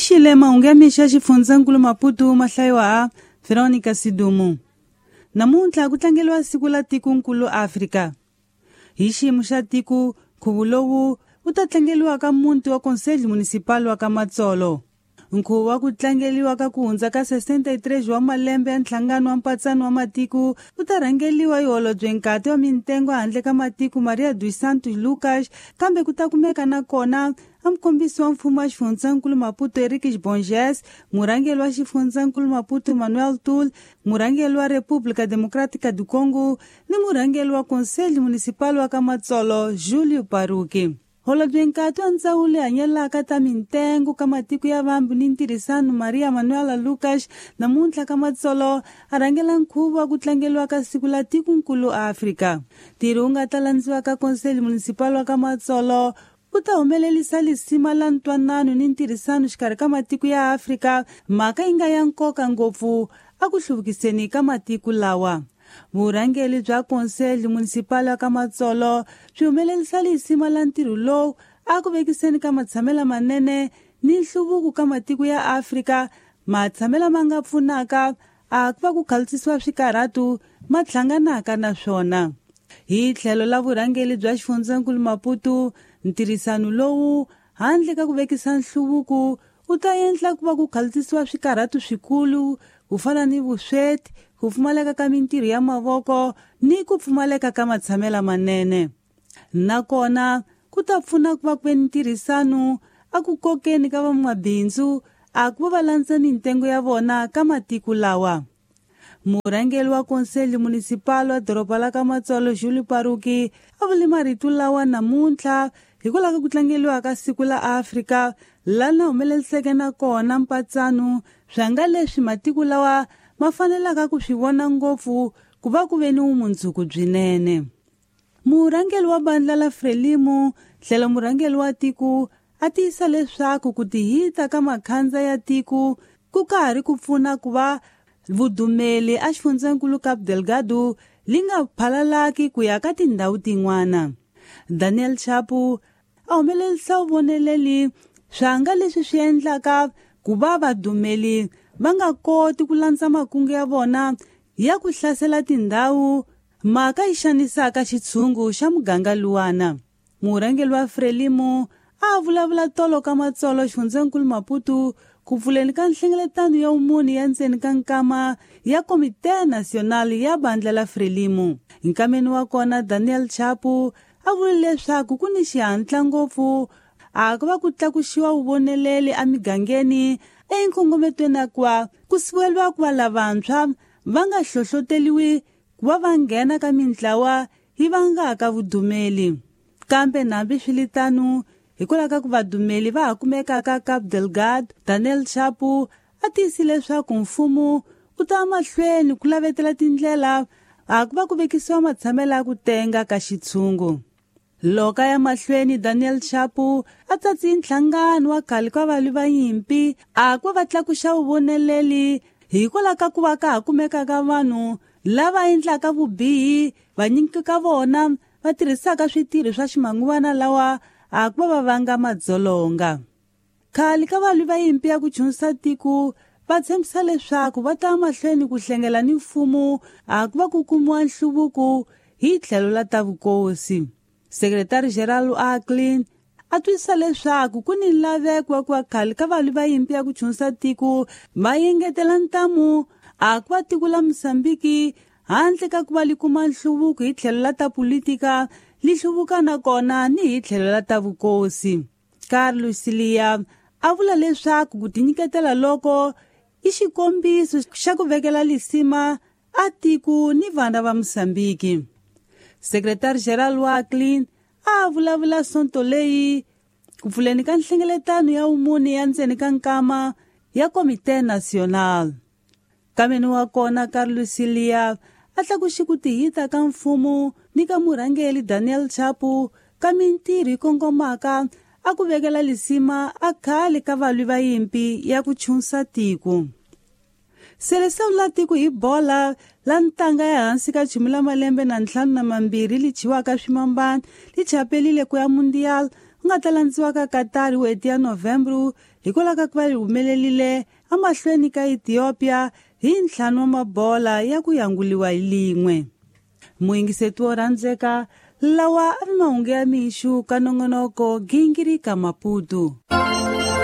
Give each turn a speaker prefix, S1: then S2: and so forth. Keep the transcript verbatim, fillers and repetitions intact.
S1: Mixile mahungu ya mixo ya xifundzankulu Maputo ma hlayiwa ha Veronica Sidumo. Namuntlha ku tlangeriwa siku la tikonkulu Afrika. Hi xiyimo xa tiko, nkhuvo lowu wu ta tlangeriwa ka muti wa Conselho Municipal wa ka Matsolo. Nkhuvo wa ku tlangeriwa ka ku hundza ka sessenta e três wa malembe ya nhlangano wa mpatsano wa matiko wu ta rhangeriwa hi holobye nkati wa mintengo handle ka matiko Maria dos Santos Lucas, kambe ku ta kumeka na kona a mukombisi wa mfumo wa xifundzankulu Maputo Henriques Borges, murhangeri wa xifundzankulu Maputo Manuel Tul, murhangeri wa República Democrática do Congo ni murhangeri wa Conselho Municipal wa ka Matsolo Júlio Paruki. Holobye nkati wa ndzawulo leyi hanyelaka ta mintengo ka matiko ya vambi ni ntirhisano Maria Manuela Lucas namuntlha ka Matsolo a rhangela nkhuvo wa ku tlangeriwa ka siku la tikonkulu Afrika. Ntirho wu nga ta landziwa ka Conselho Municipal wa ka Matsolo wu ta humelerisa lisima la ntwanano ni ntirhisano xikarhi ka matiko ya Afrika, mhaka yi nga ya nkoka ngopfu a ku hluvukiseni ka matiko lawa. Vurhangeri bya Conselho Municipal wa ka Matsolo byi humelerisa lisima la ntirho lowu a ku vekiseni ka matshamelo manene ni nhluvuko ka matiko ya Afrika, matshamelo ma nga pfunaka a ku va ku khalusisiwa swikarhatu ma hlanganaka na swona. Hi tlhelo la vurhangeri bya xifundzankulu Maputo, ntirhisano lowu handle ka ku vekisa nhluvuko wu ta endla ku va ku khalusisiwa swikarhatu swikulu ku fana ni vusweti, ku pfumaleka ka mintirho ya mavoko ni ku pfumaleka ka matshamelo manene. Nakona ku ta pfuna ku va ku ve ni ntirhisano a ku kokeni ka van'wamabindzu a ku va va landza mintengo ya vona ka matiko lawa. Murhangeri wa Conselho Municipal wa doroba la ka Matsolo Júlio Paruki a vule marito lawa namuntlha hikwalaho ka ku tlangeriwa ka siku la Afrika lana humeleriseke na kona mpatsano swa nga leswi matiko lawa ma fanelaka ku swi vona ngopfu ku va ku ve ni vumundzuku byinene. Murhangeri wa bandla la Frelimo tlhelo murhangeri wa tiko a tiyisa leswaku ku tihita ka makhandza ya tiko ku ka ha ri ku pfuna ku va vudumeli a xifundzankulu Cabo Delgado li nga phalalaki ku ya ka tindhawu tin'wana. Daniel Chapo a humelerisa vuvoneleli swa nga leswi swi endlaka ku va vadumeli va nga koti ku landza makungu ya vona ya ku hlasela tindhawu mhaka yi xanisaka xitshungu xa muganga luwana. Murhangeri wa Frelimo a vulavula tolo ka Matsolo xifundzankulu Maputo ku pfuleni ka nhlengeletano ya vumunhu ya ndzeni ka nkama ya Comité Nacional ya bandla la Frelimo. Nkameni wa kona Daniel Chapo a vule leswaku ku ni xihatla ngopfu a ku va ku tlakuxiwa vuvoneleli emigangeni enkongometweni ya ku ku siveriwa ku va lavantshwa va nga hlohloteliwi ku va va nghena ka mintlawa yi vangaka vudumeli. Kambe nambi swiritano hikwalaho ka ku vadumeli va ha kumekaka ka Cabo Delgado, Daniel Chapo a tiyisile leswaku mfumo wu ta mahlweni ku lavetela tindlela a ku va ku vekisiwa matshamelo ya ku tenga ka xitshungu. Loko ya mahlweni Daniel Chapo a tsatsi nhlangano wa khale ka valwi va nyimpi a ku va tlakuxa vuvoneleli hikwalaho ka ku va ka ha kumeka ka vanhu lava endlaka vubihi vanyingi ka vona va tirhisaka switirho swa ximanguvana lawa a ku va va vanga madzolonga. Khale ka valwi va nyimpi ya ku chunisa tiko va tshembisa leswaku va ta mahlweni ku hlengela ni mfumo a ku va ku kumiwa nhluvuko hi tlhelo la ta vukosi. Sekretari General Acklin a twisisa leswaku ku ni laveko wa ku va khale ka valwi va nyimpi ya ku chunisa tiko va engetela ntamu a ku va tiko la Mozambiki handle ka ku va li kuma nhluvuko hi tlhelo la ta politika li hluvuka na kona ni hi tlhelo la ta vukosi. Carlos Silia a vula leswaku ku tinyiketela loko i xikombiso xa ku vekela lisima a tiko ni vana va Mozambiki. Sekretari General wa Acklin a vulavula sonto leyi ku pfuleni ka nhlengeletano ya vumunhu ya ndzeni ka nkama ya Comité Nacional. Kameni wa kona Carlos Silia a tlakuxe ku tihita ka mfumo ni ka murhangeri Daniel Chapo ka mintirho yi kongomaka a ku vekela lisima a khale ka valwi va nyimpi ya ku chunsa tiko. Seleção la tiko hi bola la ntanga ya hansi ka chumu la malembe na ntlhanu na mambirhi li chiwaka swimambana li chapelile ku ya mundial wu nga ta landziwa ka Qatar hi n'hweti ya Novembro hikwalaho ka ku va yi humelerile emahlweni ka Ethiopia hi ntlhanu wa mabola ya ku yanguliwa hi lin'we. Muyingiseti wo rhandzeka, lawa a ri mahungu ya mixo ka nongonoko Gingirika Maputo.